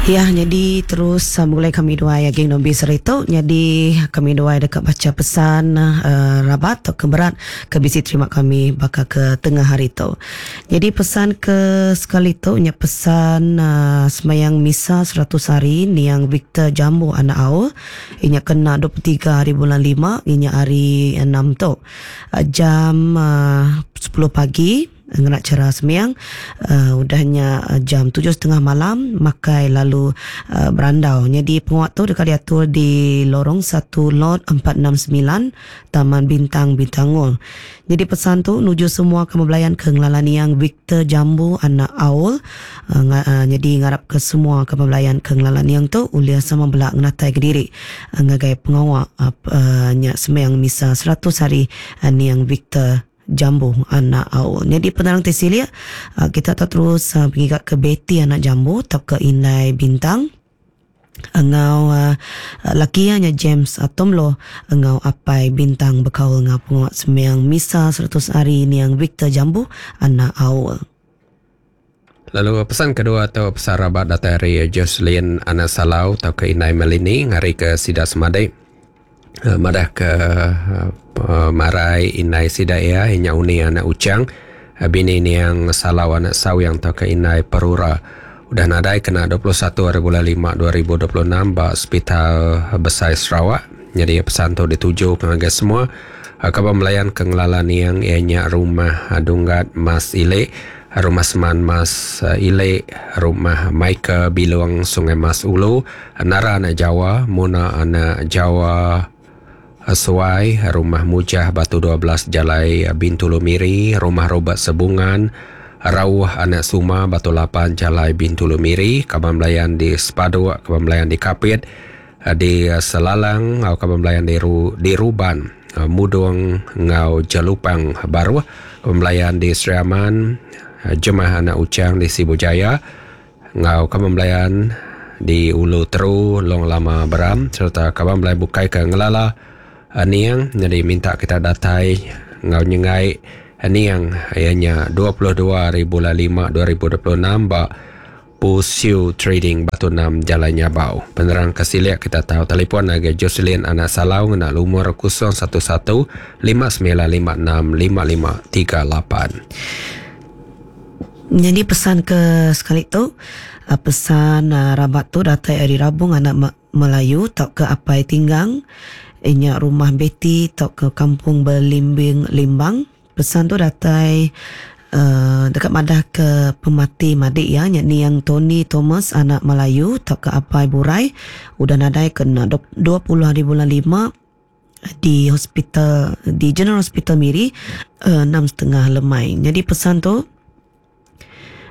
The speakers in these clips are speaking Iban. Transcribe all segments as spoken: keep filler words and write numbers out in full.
Ya, jadi terus uh, mulai kami dua agi nombi seritu. Jadi kami dua dekat baca pesan uh, rabat atau keberat ke bisi terima kami bakal ke tengah hari tu. Jadi pesan ke sekali tu nya pesan uh, semayang misa seratus hari niang Victor Jambu anak Aul. Inya kena dua puluh tiga hari bulan lima, inya hari enam tu. Uh, jam uh, sepuluh pagi ngena cara sembiang, uh, udahnya uh, jam tujuh setengah malam makai lalu uh, berandau. Jadi penguat tu dekat diatur di lorong satu lot empat enam sembilan Taman Bintang Bintangul. Jadi pesan tu nuju semua kemebelayan ke ngelalan yang Victor Jambu anak Aul. Uh, uh, jadi ngarap ke semua kemebelayan ke ngelalan yang tu ulia sama belak ngenatai ke diri uh, ngagai pengawak uh, uh, nyak sembiang misa seratus hari uh, niang Victor Jambu anak Aul. Jadi penerang Tesilia kita tak terus uh, pergi ke Betty anak Jambu atau ke Indai Bintang engau uh, laki nya James Atomlo engau apai Bintang bekaul ngau penguat sembiang misa seratus hari niang Victor Jambu anak Aul. Lalu pesan kedua atau pesan rabat datang dari Jocelyn anak Salau atau ke Indai Melini ngari ke Sida Semadek. Madah ke uh, marai inai sidaya inya uni anak ucang bini niang Salau anak Sawyang atau ke Inai Perura udah nadai kena dua puluh satu hari bulan lima dua ribu dua puluh enam ba Hospital Besai Sarawak. Jadi pesan tu dituju pengagai semua kabar melayan ke ngelala niang ianya rumah Dunggat Mas Ilek, rumah Seman Mas Ilek, rumah Michael Bilong Sungai Mas Ulu, Nara anak Jawa, Muna anak Jawa Suai, rumah Mujah Batu dua belas Jalai Bintulu Miri, rumah Robert Sebungan, Rauh anak Suma Batu lapan Jalai Bintulu Miri, kaban melayan di Sepaduk, kaban melayan di Kapit, di Selalang, kaban melayan di, Ru, di Ruban, Mudung ngau Jelupang Baruh, kaban melayan di Sri Aman, Jemah anak Ucang di Sibu Jaya, ngau kaban melayan di Ulu Teru, Long Lama Beram, serta kaban melayan bukai ke Ngelala niang. Jadi minta kita datai ngau nyengai niang ianya dua puluh dua hari bulan lima dua ribu dua puluh enam ba Pusiu Trading Batu enam Jalan Nyabau. Penerang kesiliak kita tahu telefon agai Jocelyn anak Salau ngena lumur kosong satu satu lima sembilan lima enam lima lima tiga lapan. Jadi pesan ke sekali tu pesan rabat tu datai hari Rabung anak Melayu tak ke Apai Tinggang inya rumah Betty atau ke Kampung Belimbing Limbang. Pesan tu datai uh, dekat madah ke pemati madik ya nya niang Tony Thomas anak Melayu atau ke Apai Burai udah nadai kena dua puluh hari bulan lima di hospital di General Hospital Miri uh, enam setengah lemai. Jadi pesan tu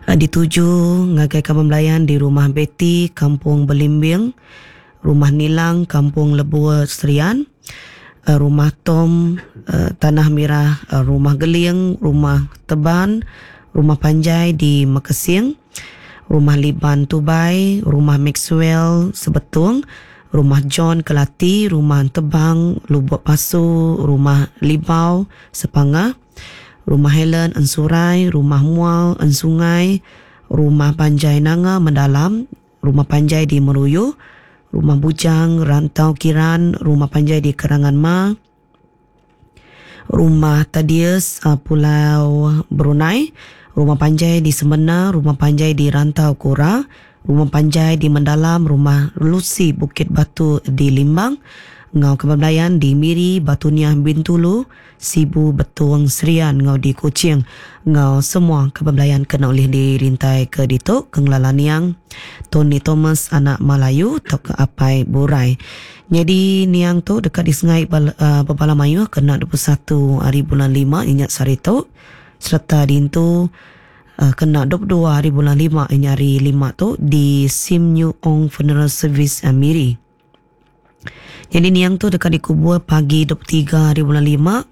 uh, dituju ngagai kaban belayan di rumah Betty Kampung Belimbing, Rumah Nilang Kampung Lebua Serian, Rumah Tom Tanah Merah, Rumah Geling, Rumah Teban, Rumah Panjai di Mekesing, Rumah Liban Tubai, Rumah Maxwell Sebetung, Rumah John Kelati, Rumah Tebang Lubuk Pasu, Rumah Libau Sepangah, Rumah Helen Ensurai, Rumah Mual Ensungai, Rumah Panjai Nanga Mendalam, Rumah Panjai di Meruyu, Rumah Bujang, Rantau Kiran, Rumah Panjai di Kerangan Ma, Rumah Tadius Pulau Brunei, Rumah Panjai di Semena, Rumah Panjai di Rantau Kura, Rumah Panjai di Mendalam, Rumah Lucy Bukit Batu di Limbang, ngau kebablayan di Miri, Batu Niah Bintulu, Sibu Betuang Serian, ngau di Kuching, ngau semua kebablayan kena oleh dirintai ke ditu ke ngelala niang Tony Thomas anak Melayu atau ke Apai Burai. Jadi niang tu dekat di Sungai uh, Bebala Mayuh kena dua puluh satu hari bulan lima ingat sehari tu, serta dintu uh, kena dua puluh dua hari bulan lima ingat hari lima tu di Sim New Ong Funeral Service uh, Miri. Jadi niang tu dekat dikubur pagi dua puluh tiga hari bulan lima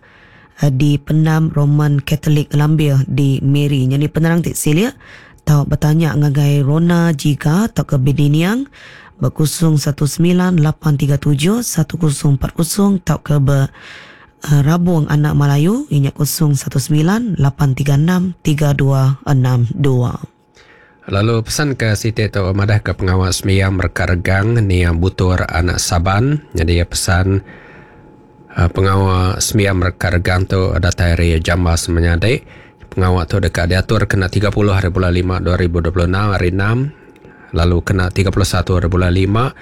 di Pendam Roman Catholic Lambir di Miri. Jadi penerang tik silia tau bertanya ngagai Rona Jika atau ke Bini Niang ber kosong satu sembilan lapan tiga tujuh satu kosong empat kosong atau ke ber Rabung Anak Melayu ingat kosong satu sembilan lapan tiga enam tiga dua enam dua. Lalu pesan ke Siti tu madah ke pengawal sembiang mereka regang niang butur anak Saban. Jadi pesan uh, pengawal sembiang mereka regang tu datai hari jamba semenyadik. Pengawal tu dekat diatur kena tiga puluh hari bulan lima dua ribu dua puluh enam hari enam. Lalu kena tiga puluh satu hari bulan lima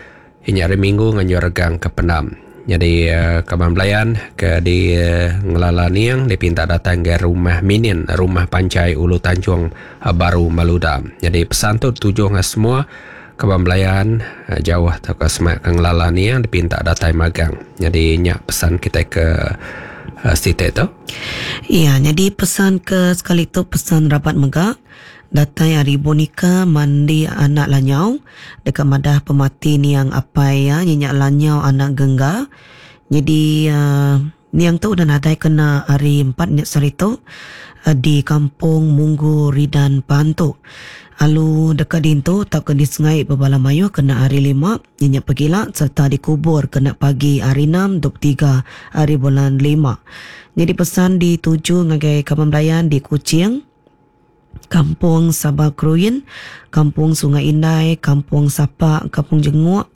ini hari Minggu nganjur regang ke pendam. Jadi uh, kaban belayan ke di uh, ngelala niang dipinta datang ke rumah Minin, rumah Pancai Ulu Tanjung uh, Baru Maluda. Jadi pesan tu tuju dengan semua kaban belayan uh, jauh atau ke semak ke ngelala niang dipinta datang magang. Jadi nyak pesan kita ke uh, sitik tu. Ya, jadi pesan ke sekali tu pesan rapat megak. Datai hari boneka mandi anak lanyau dekat madah pemati niang apai ya nyenyak lanyau anak gengga. Jadi uh, niang tu dah nadai kena hari empat nyak sari tu uh, di kampung Munggu Ridan Pantu. Alu dekat dintu tak ke di sungai berbala mayu kena hari lima nyenyak pegila serta dikubur kena pagi hari enam dua puluh tiga hari bulan lima. Jadi pesan dituju ngagai kaban belayan di Kuching, Kampung Sabah Kruin, Kampung Sungai Indai, Kampung Sapak, Kampung Jenguk,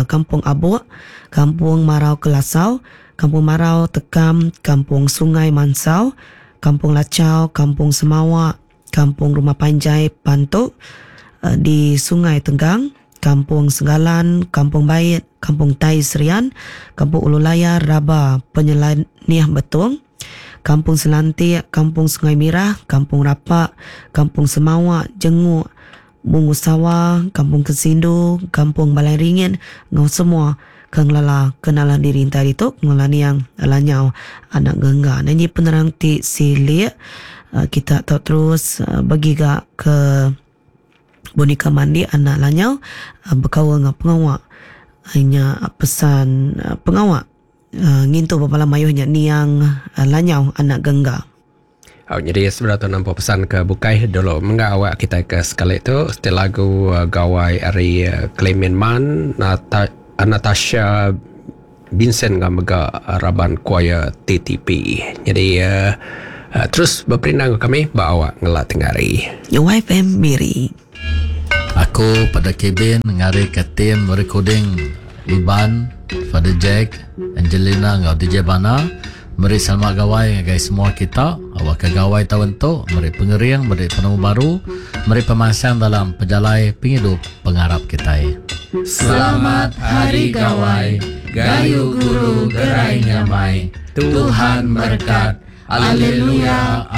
Kampung Abuk, Kampung Marau Kelasau, Kampung Marau Tekam, Kampung Sungai Mansau, Kampung Lacau, Kampung Semawak, Kampung Rumah Panjai Pantuk di Sungai Tenggang, Kampung Senggalan, Kampung Bait, Kampung Tai Serian, Kampung Ulu Layar, Raba, Penyelaniah Betung, Kampung Selantik, Kampung Sungai Mirah, Kampung Rapak, Kampung Semawak, Jenguk, Bungu Sawah, Kampung Kesindu, Kampung Balai Ringin, ngau semua kengelala kenalan diri tadi tu ngelala niang lanyau anak gengga. Nyanyi penerang ti silik kita tahu terus bagi gak ke boneka mandi anak lanyau berkawal dengan pengawak hanya pesan pengawak Uh, ngintu bepala mayuhnya niang uh, lanyau anak gengga. Oh, jadi sebenarnya tu nampak pesan ke bukai dulu menggak awak kita ke sekali tu setelah lagu uh, gawai ari uh, Clement Man Nata, Natasha Vincent ngah mega raban choir T T P. Jadi uh, uh, terus berperindang kami ba awak ngelat tengari. Y F M Miri. Aku pada kabin ngari ke tim recording Iban, Father Jack, Angelina ngau D J Bana. Meri selamat gawai ngagai semua kita. Awak ke gawai tahun tu, meri pengering, meri penemu baru, meri pemasang dalam pejalai penghidup pengarap kita. Selamat Hari Gawai, Gayu Guru Gerai Nyamai, Tuhan berkat. Haleluya.